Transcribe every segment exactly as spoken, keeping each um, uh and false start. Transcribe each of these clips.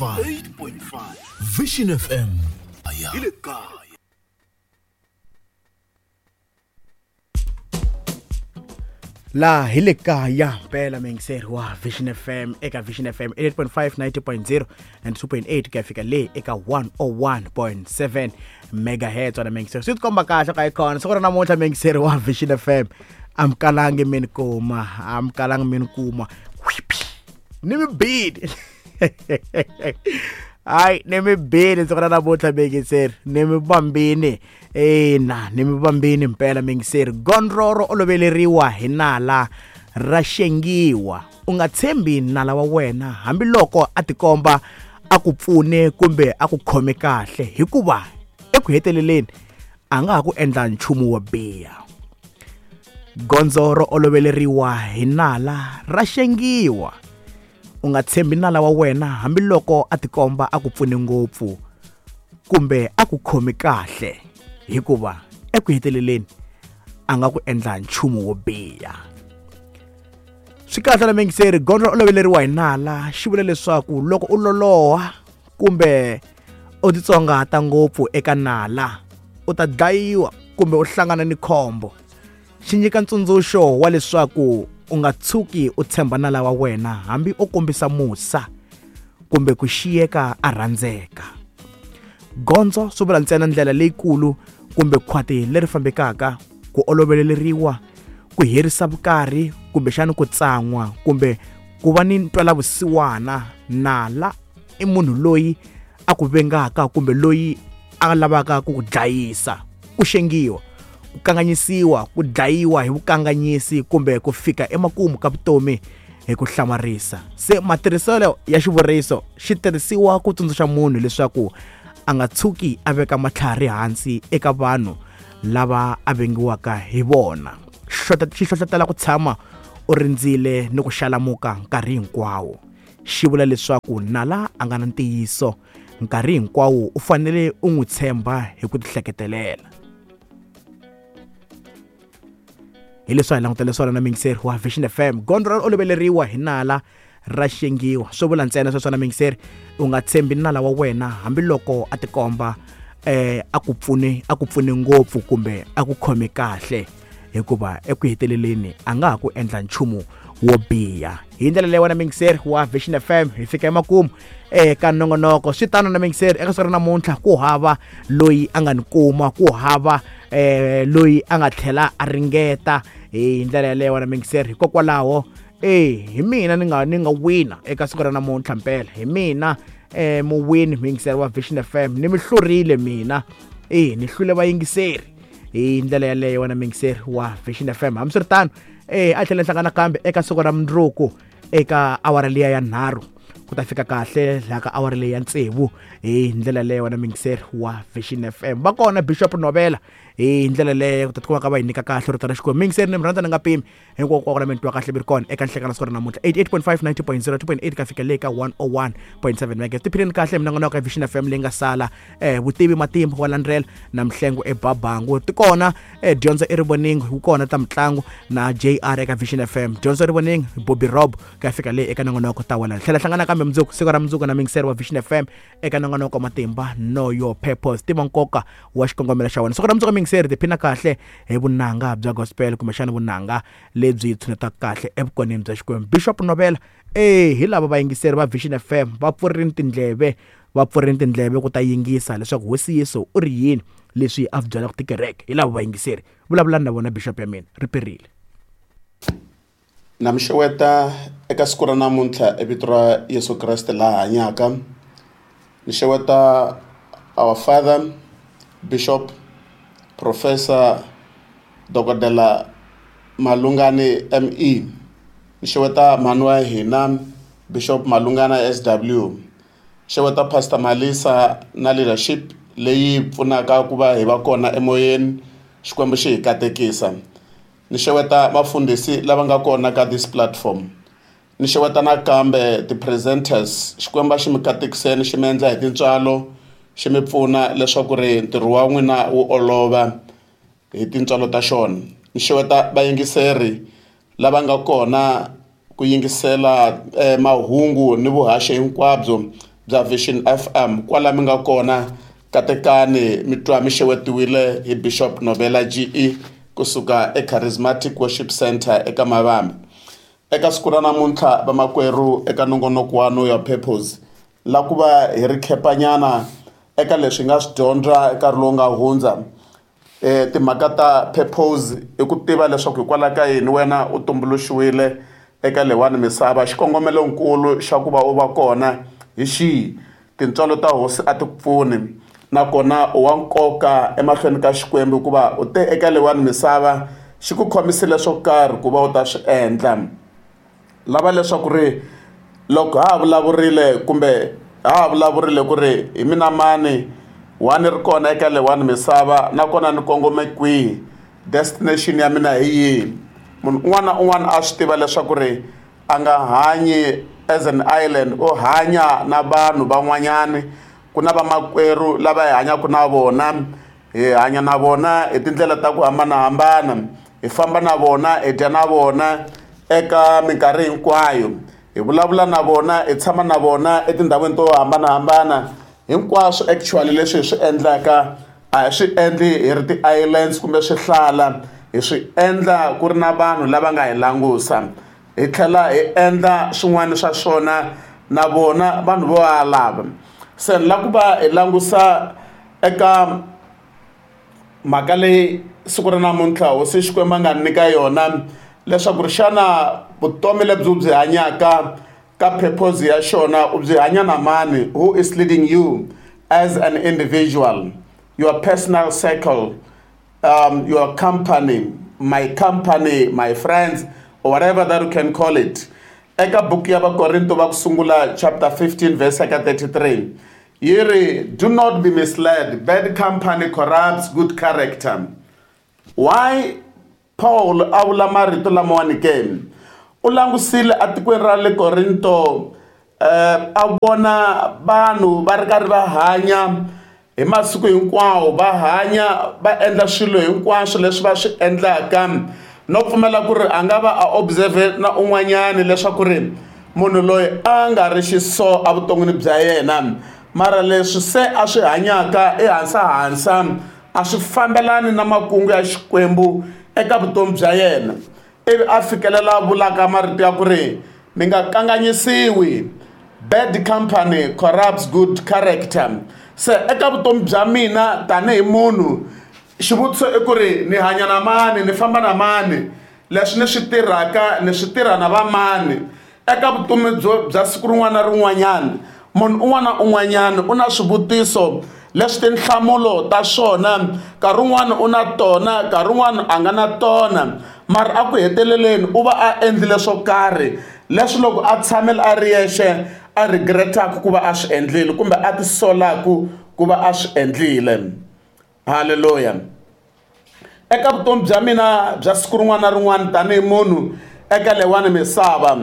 eight point five Vision F M. Hi le kaya. La hi le kaya mpela muyingiseri wa Vision F M eka Vision F M eight point five, ninety point zero and two point eight ku ya fika le eka one oh one point seven megahertz. Wena muyingiseri swi tikomba kahle ka ikona siku ra namuntlha muyingiseri wa Vision F M amkalangi mi ni kuma amkalangi mi ni kuma ni mi bini hayi ni mi bini siku ra namuntlha muyingiseri ni mi bambini ina ni mi bambini mpela muyingiseri. Gondzo ro oloveleriwa hi nala ra xengiwa. U nga tshembi nala wa wena hambiloko a tikomba a ku pfune kumbe a ku khome kahle, hikuva eku heteleleni a nga ha ku endla nchumu wo biha. Gondzo ro oloveleriwa hi nala ra xengiwa. U nga tshembi nala wa wena hambiloko a tikomba a ku pfune ngopfu kumbe a ku khome kahle, hikuva eku heteleleni a nga ku endla nchumu wo biha. Swi kahle na muyingiseri, gondzo ro oloveleriwa hi nala xi vula leswaku loko u loloha kumbe u titsongahata ngopfu eka nala u ta dlayiwa kumbe u hlangana ni khombo. Xi nyika ntsundzuxo wa leswaku u nga tshuki u tshemba nala wa wena hambi o kombisa musa kumbe ku xiyeka a rhandzeka. Gondzo swi vula ntsena ndlela leyikulu kumbe khwati leri fambekaka, ku oloveleriwa, ku herisa vukarhi kumbexana ku tsan'wa kumbe ku va ni ntwelavusiwana. Nala i munhu loyi a ku vengaka kumbe loyi a lavaka ku ku dlayisa, ku xengiwa, ku kanganyisiwa, ku dlayiwa hi vukanganyisi kumbe ku fika emakumu ka vutomi hi ku hlamarisa. Se matirhiselo ya xivuriso xi tirhisiwa ku tsundzuxa munhu leswaku a nga tshuki a veka matlhari hansi eka vanhu lava a vengiwaka hi vona. Xi hlohlotela ku tshama u rindzile ni ku xalamuka nkarhi hinkwawo. Xi vula leswaku nala a nga na ntiyiso nkarhi hinkwawo, u fanele u n'wi tshemba hi ku tihleketelela. Hi leswi hi langutele swona na muyingiseri wa Vision F M. Gondzo ro oloveleriwa hi nala ra xengiwa. Swi vula ntsena sweswo na muyingiseri, u nga tshembi nala wa wena hambiloko a tikomba eh a ku pfune a ku pfune ngopfu kumbe a ku khome kahle, hikuva eku heteleleni a nga ha ku endla nchumu wo biha. Hi ndlela leyi wena muyingiseri wa Vision F M hi fika emakumu eka nongonoko. Swi tano na muyingiseri, eka siku ra namuntlha ku hava loyi a nga ni kuma, ku hava eh loyi a nga tlhela a ringeta hi ndlela yaleyo wena muyingiseri. Hikokwalaho eh hi mina ni nga ni nga wina eka siku ra namuntlha mpela, hi mina eh muwini muyingiseri wa Vision F M, ni mi hlurile mina, eh ni hlule vayingiseri hi ndlela yaleyo wena muyingiseri wa Vision F M. Hambiswiritano eh a tlhela hlangana kambe eka siku ra mundzuku eka awara liya ya nharhu ku ta fika kahle laha ka awara leyi ya tsevu hi ndlela leyo wena muyingiseri wa Vision F M. Va kona Bishop Novela hi ndlela leyo ku ta tikuma ka va hi nyika kahle rito ra Xikwembu. Muyingiseri ni mi rhandza ni nga pimi hinkwako la mi twa kahle mi ri kona eka nhlekano siku ra namuntlha eighty-eight point five, ninety point zero, two point eight ka fika le ka one oh one point seven megahertz. Tiphileni kahle minongonoko ya Vision F M leyi nga sala eh vutivi matimba wa landzela na Mhlengo eBabangu ti kona eh dyondzo erivoningo wu kona ta mitlangu na J R eka Vision F M. Dyondzo erivoningo Bobby Rob ka fika le eka nongonoko ta wena. Tlhela hlangana kambe mundzuku siku ra mundzuku na muyingiseri wa Vision F M eka nongonoko matimba Know Your Purpose, tiva nkoka wa xikongomelo xa wena. Siku ra mundzuku muyingiseri tiphina kahle hi vunanga bya gospel kumbexana vunanga lebyi tshunetaka kahle evukoneni bya Xikwembu. Bishop Novela eh hi lava vayingiseri va Vision F M va pfurini tindleve va pfurini tindleve ku ta yingisa leswaku Hosi Yesu u ri yini leswi a byelaka tikereke. Hi lava vayingiseri vulavulani na vona Bishop ya mina ri perile. Na mi xeweta eka siku ra namuntlha e vito ra Yesu Kreste laha hanyaka. Ni xeweta our father Bishop Professor Dokodela Malungani M E. Ni xeweta mhani wa hina Bishop Malungana S W. Xeweta Pastor Malisa na leadership leyi pfunaka ku va hi va kona emoyeni. Xikwembu xi hi katekisa. Ni xeweta vafundhisi lava nga kona ka this platform. Ni xeweta nakambe ti-presenters. Xikwembu xi mi katekiseni, xi mi endla hi tintswalo, xi mi pfuna leswaku ri ntirho wa n'wina wu olova hi tintswalo ta xona. Ni xeweta vayingiseri lava nga kona ku yingisela eh, mahungu ni vuhaxi hinkwabyo bya Vision F M kwala mi nga kona katekani mi twa mi xewetiwile hi Bishop Novela G E kusuka eCharismatic Worship Center eka Mavambe. Eka siku ra namuntlha vamakwerhu eka nongonoko wa Know Your Purpose la ku va hi ri khepanyana eka leswi hi nga swi dyondza nkarhi lowu nga hundza. Eh timhaka ta purpose i ku tiva leswaku hikwalaho ka yini wena u tumbuluxiwile eka leyiwani misava, xikongomelonkulu xa ku va u va kona hi xihi, tintswalo ta hosi a ti ku pfuni nakona u wa nkoka emahlweni ka Xikwembu hikuva u te eka leyiwani misava xi ku khomisile swo karhi ku va u ta swi endla. Lava leswaku ri loko ha ha vulavurile kumbe ha ha vulavurile ku ri hi mina mani wani ri kona eka leyiwani misava nakona ni kongome kwihi, destination ya mina hi yihi. Munhu un'wana na un'wana a swi tiva leswaku ri a nga hanyi as an island, u hanya na vanhu van'wanyani. Ku na vamakwerhu lava hi hanyaka na vona, hi hanya na vona hi tindlela ta ku hambanahambana, hi famba na vona, hi dya na vona eka minkarhi hinkwayo, hi vulavula na vona, hi tshama na vona etindhawini to hambanahambana. Hinkwaswo actually leswi hi swi endlaka a hi swi endli hi ri ti-islands kumbe swihlala, hi swi endla ku ri na vanhu lava nga hi langusa, hi tlhela hi endla swin'wana swa swona na vona vanhu vo lava. Se ni lava ku va hi langusa eka mhaka leyi siku ra namuntlha hosi Xikwembu a nga nyika yona leswaku ri xana vutomi lebyi u byi hanyaka ka purpose ya xona u byi hanya na mani, who is leading you as an individual, your personal circle, um, your company, my company, my friends, or whatever that you can call it. Eka buku ya Vakorinto va ku sungula chapter fifteen verse thirty-three yi ri, do not be misled, bad company corrupts good character. Why Paul a vula marito lamawani ke? U langusile atikweni ra le Korinto, eh, a vona vanhu va ri karhi va hanya hi masiku hinkwawo, va hanya va endla swilo hinkwaswo leswi va swi endlaka, no pfumela ku ri a nga va a observe na un'wanyani leswaku ri munhu loyi a nga ri xiso evuton'wini bya yena, mara leswi se a swi hanyaka ehansi-hansi a swi fambelani na makungu ya Xikwembu eka vutomi bya yena. Ivi a fikelela vulaka marito ya ku ri mi nga kanganyisiwi, bad company corrupts good character. Se eka vutomi bya mina tanihi munhu, xivutiso i ku ri ni hanya na mani, ni famba na mani, leswi ni swi tirhaka ni swi tirha na vamani. Eka vutomi byo bya siku rin'wana na rin'wanyana, munhu un'wana na un'wanyana u na swivutiso leswi tinhlamulo ta swona nkarhi wun'wani u na tona, nkarhi wun'wani a nga na tona, mara a ku heteleleni u va a endlile swo karhi leswi loko a tshamile a ri yexe a regretaka ku va a swi endlile kumbe a tisolaku ku va a swi endlile. Hallelujah. Eka vutomi bya mina bya siku rin'wana na rin'wana tanihi munhu eka leyiwani misava,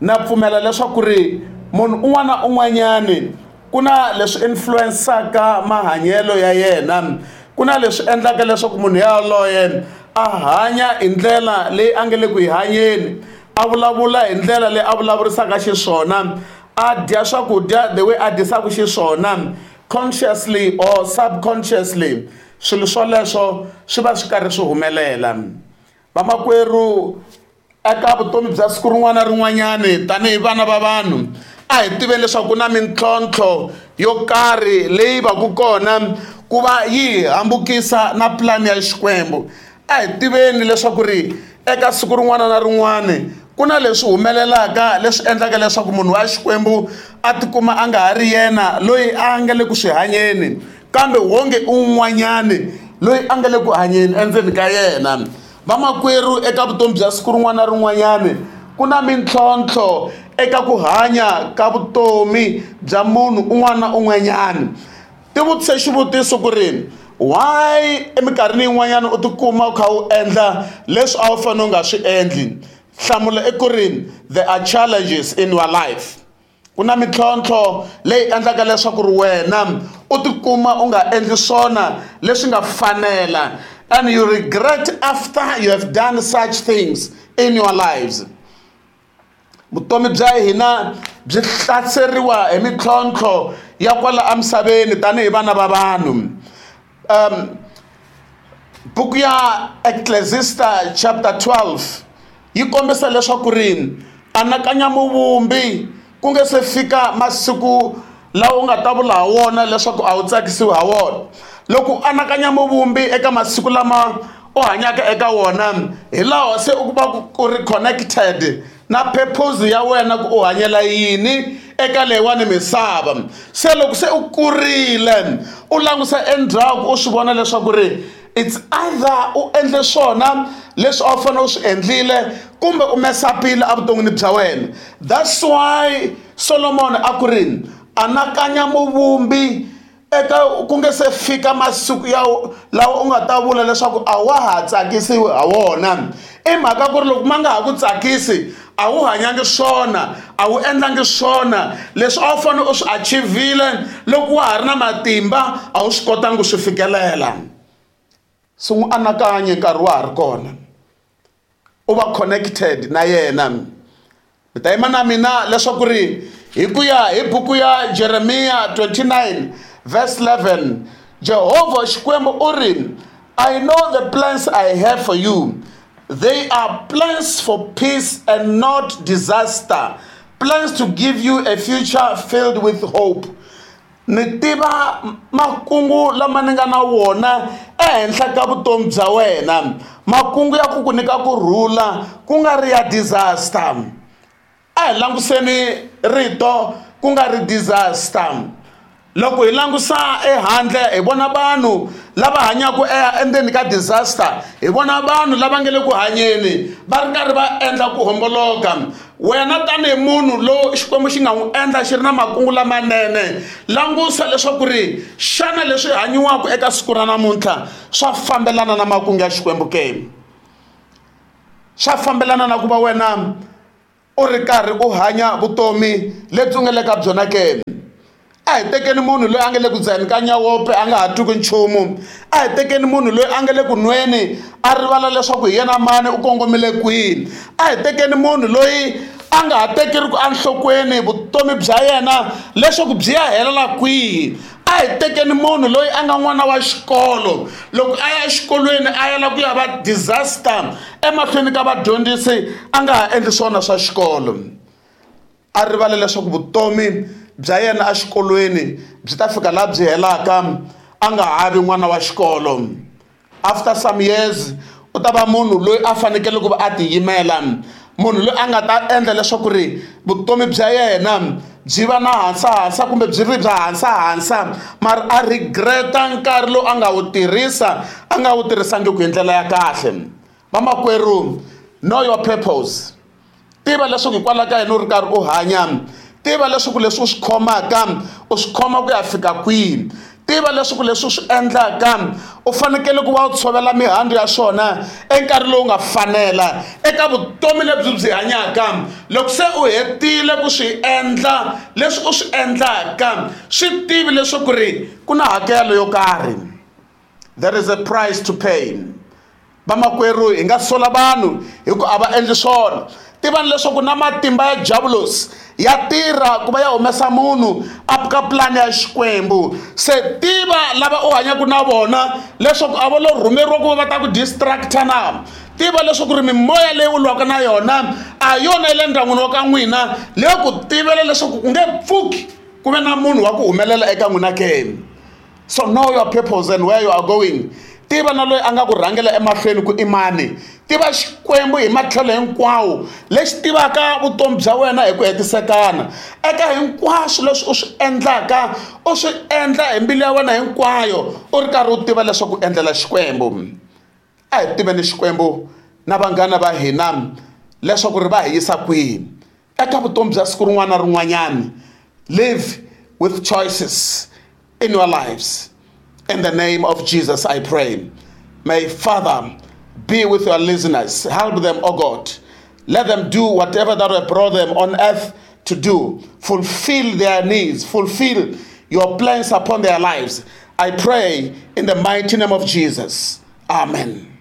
na pfumela leswaku ri munhu un'wana na un'wanyani ku na leswi influensaka mahanyelo ya yena, ku na leswi endlaka leswaku munhu yaloye a hanya hi ndlela leyi a nga le ku yi hanyeni, a vulavula hi ndlela leyi a vulavurisaka xiswona, a dya swakudya the way a dyisaka xiswona, consciously or subconsciously, swilo swoleswo swi va swi karhi swi humelela. Vamakwerhu, eka vutomi bya siku rin'wana na rin'wanyani tanihi vana va vanhu, a hi tiveni leswaku ku na mintlhontlho yo karhi leyi va ku kona ku va yi hambukisa na plan ya Xikwembu. A hi tiveni leswaku ri eka siku rin'wana na rin'wana ku na leswi humelelaka leswi endlaka leswaku munhu wa Xikwembu a tikuma a nga ha ri yena loyi a nga le ku swi hanyeni, kambe wonge un'wanyani loyi a nga le ku hanyeni endzeni ka yena. Vamakwerhu, eka vutomi bya siku rin'wana na rin'wanyani ku na mintlhontlho eka ku hanya ka vutomi bya munhu un'wana na un'wanyani. Tivutise xivutiso ku ri why eminkarhini yin'wanyana u tikuma u kha u endla leswi a wu fanele u nga swi endli. Nhlamulo i ku ri there are challenges in your life. Ku na mintlhontlho leyi endlaka leswaku ri wena u tikuma u nga endli swona leswi nga fanela, and you regret after you have done such things in your lives. Vutomi bya hina byi hlaseriwa hi mintlhontlho ya kwala emisaveni tanihi vana va vanhu. Um buku ya Ecclesiastes chapter twelve yi kombisa leswaku ri anakanya muvumbi ku nge se fika masiku lawa u nga ta vula ha wona leswaku a wu tsakisiwi ha wona. Loko u anakanya muvumbi eka masiku lama u hanyaka eka wona, hi laha se u va ku ri connected na purpose ya wena ku u hanyela yini eka leyiwani misava. Se loko se u kurile u langusa endzhaku u swi vona leswaku ri it's either u endle swona leswi a wu fanele u swi endlile kumbe u mesapile evuton'wini bya wena. That's why Solomon a ku ri anakanya muvumbi eka ku nge se fika masiku ya lawa u nga ta vula leswaku a wa ha tsakisiwi ha wona. I mhaka ku ri loko ma nga ha ku tsakisi a wu hanyangi swona, a wu endlangi swona leswi a wu fanele u swi achieve-ile loko wa ha ri na matimba a wu swi kotangi ku swi fikelela. Se n'wi anakanye nkarhi wa ha ri kona, u va connected na yena. Mi ta yima na mina leswaku ri hi ku ya hi buku ya Jeremiah twenty-nine verse eleven, Jehovah Xikwembu u ri, I know the plans I have for you. They are plans for peace and not disaster, plans to give you a future filled with hope. Ni tiva makungu lama ni nga na wona ehenhla ka vutomi bya wena, makungu ya ku ku nyika ku rhula ku nga ri ya disaster. A hi languseni rito ku nga ri disaster. Loko hi langusa ehandle hi vona vanhu lava hanyaka endzeni ka disaster, hi vona vanhu lava nga le ku hanyeni va ri karhi va endla ku homboloka. Wena tanihi munhu lowu Xikwembu xi nga n'wi endla xi ri na makungu lamanene, langusa leswaku ri xana leswi hanyiwaka eka siku ra namuntlha swa fambelana na makungu ya Xikwembu ke? Swa fambelana na ku va wena u ri karhi u hanya vutomi lebyi u nga le ka byona ke? A hi tekeni munhu loyi a nga le ku dzaheni ka nyawope a nga ha twi nchumu. A hi tekeni munhu loyi a nga le ku nweni a rivala leswaku hi yena mani u kongomile kwihi. A hi tekeni munhu loyi a nga ha tekeriku enhlokweni vutomi bya yena leswaku byi ya helela kwihi. A hi tekeni munhu loyi a nga n'wana wa xikolo, loko a ya exikolweni a yela ku ya va disaster emahlweni ka vadyondzisi a nga ha endli swona swa xikolo. A rivala leswaku vutomi bya yena exikolweni byi ta fika laha byi helaka a nga ha vi n'wana wa xikolo. After some years u ta va munhu loyi a fanekele ku va a tiyimela, munhu loyi a nga ta endla leswaku ri vutomi bya yena byi va na hansahansa kumbe byi ri bya hansahansa, mara a regreta nkarhi lowu a nga wu tirhisa a nga wu tirhisangiki hi ndlela ya kahle. Vamakwerhu, know your purpose. Tiva leswaku hikwalaho ka yini u ri karhi u hanya. Tiva leswaku leswi u swi khomaka u swi khoma ku ya fika kwihi. Tiva leswaku leswi u swi endlaka u fanekele ku va u tshovela mihandzu ya swona enkarhi lowu nga fanela eka vutomi lebyi byi hanyaka. Loko se u hetile ku swi endla leswi u swi endlaka, swi tivi leswaku ri ku na hakelo yo karhi. There is a price to pay. Vamakwerhu, hi nga sola vanhu hi ku a va endli swona. Tivani leswaku na matimba ya diabolos ya tirha ku va ya humesa munhu a ka plan ya Xikwembu. Se tiva lava u hanyaka na vona leswaku a va lo rhumeriwa ku va va ta ku distracta na. Tiva leswaku ri mimoya leyi u lwaka na yona a yona yi le ndyangwini wa ka n'wina, leyi ku tivela leswaku ku nge pfuki ku ve na munhu wa ku humelela eka n'wina ke. So know your purpose and where you are going. Tiva na loyi a nga ku rhangela emahlweni ku i mani. Tiva Xikwembu hi matlhelo hinkwawo lexi tivaka vutomi bya wena hi ku hetisekana. Eka hinkwaswo leswi u swi endlaka u swi endla hi mbilu ya wena hinkwayo u ri karhi u tiva leswaku u endlela Xikwembu. A hi tiveni Xikwembu na vanghana va hina leswaku ri va hi yisa kwihi eka vutomi bya siku rin'wana na rin'wanyana. Live with choices in your lives. In the name of Jesus, I pray. May Father be with your listeners. Help them, O God. Let them do whatever that will brought them on earth to do. Fulfill their needs. Fulfill your plans upon their lives. I pray in the mighty name of Jesus. Amen.